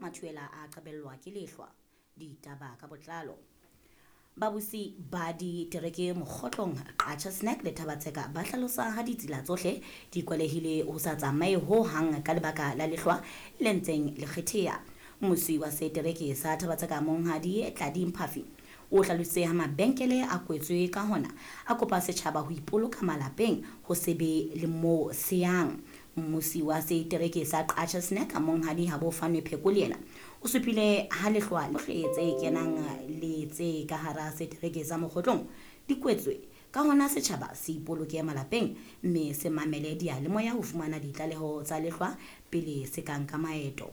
mathuela a qabellwa ke lehlwa. Ditaba ka botlalo. Babusi ba ditereke Mokgotlong, Qacha Snack le Thabatseka ba hlalosa ha ditsela tsohle di kwalehile ho sa tsamaye ho hang ka lebaka la lehlwa le ntseng le kgetheha. Mmusi wa setereke sa Thabatseka Monghadi Tladi Mphafi o hlalositse ha mabenkele a kwetswe ka hona a kopa setjhaba ho ipoloka malapeng ho se be le moo se yang. Mmusi wa setereke sa Qacha Snack Monghadi Habo Fanwe Pheko le yena o supile ha lehlwa lohle tse kenang le tse ka hara setereke sa Mokgotlong di kwetswe ka hona setjhaba se ipoloke malapeng mme se mamele diyalemoya ho fumana ditlaleho tsa lehlwa pele se ka nka maeto.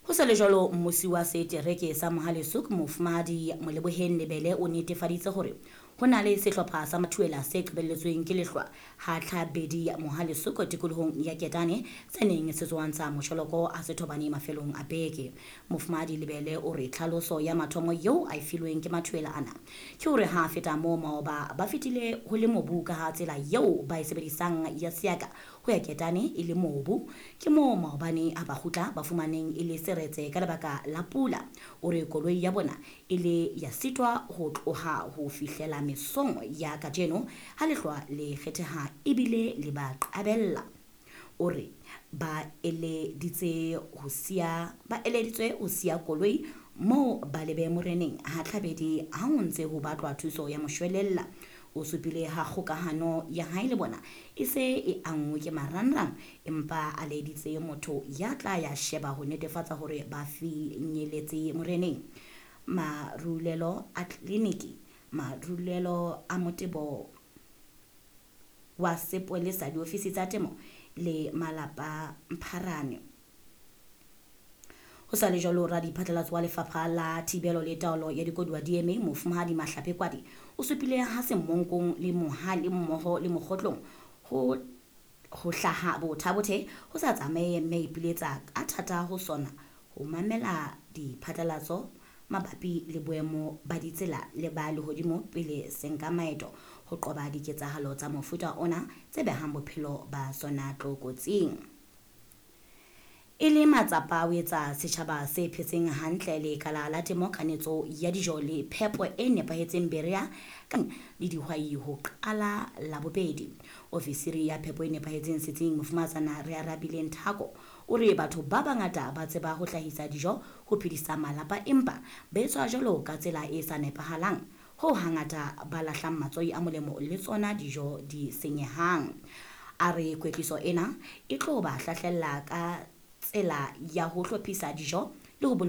Ho sa le jwalo, mmusi wa setereke sa Mohale'shoek Mofumahadi Moleboheng Lebele o netefaditse hore ho na le sehlopha sa mathuela se qobelletsweng ke lehlwa ha Tlhabedi Mohale'shoek tikolohong ya Ketane se neng se tswantsha mosholoko a sethobane mafelong a beke. Mofumahadi Lebele o re tlhaloso ya mathomo eo a e filweng ke mathuela ana ke hore ha feta moo maoba ba fetile ho le mobu ka ha tsela eo ba e sebedisang ya seaka ho ya Ketane e le mobu. Ke moo maobane ha ba kgutla ba fumaneng e le seretse ka lebaka la pula. O re koloi ya bona e le ya sitwa ho tloha ho fihlela mesong ya kajeno ha lehlwa le kgetheha ebile le ba qabella. O re ba eleditswe ho siya koloi moo ba lebe moreneng ha Tlhabedi ha ho ntse ho batlwa thuso ya moshwelella. O supile ha kgokahano ya hae le bona e se e anngwe ke marangrang empa a laeditse motho ya tla ya sheba ho netefatsa hore ba finyeletse moreneng. Marulelo a tleliniki, marulelo a motebo wa sepolesa, diofisi tsa temo le malapa Mpharane. Ho sa le jwalo, radiphatlalatso wa lefapha la thibelo le taolo ya dikoduwa DMA Mofumahadi Mahlape Kwadi o supile ha Semonkong le Mohale mmoho le Mokgotlong ho hlaha bothabothe ho sa tsamaye mme ipiletsa ka thata ho sona ho mamela diphatlalatso mabapi le boemo ba ditsela le ba lehodimo pele se nka maeto ho qoba diketsahalo tsa mofuta ona tse behang bophelo ba sona tlokotsing. E le matsapa ho etsa setjhaba se phetseng hantle lekala la temo, kanetso ya dijo le phepo e nepahetseng Berea le dihwai ho qala Labobedi. Ofisiri ya phepo e nepahetseng setsing Mofumahatsana Rearabile Nthako o re batho ba bangata ba tseba ho hlahisa dijo ho phedisa malapa empa ba etswa jwalo ka tsela e sa nepahalang ho hangata ba lahlang matswai a molemo le tsona dijo di senyehang. A re kwetliso ena e tlo ba hlahlella ka tsela ya ho hlophisa dijo le ho boloka.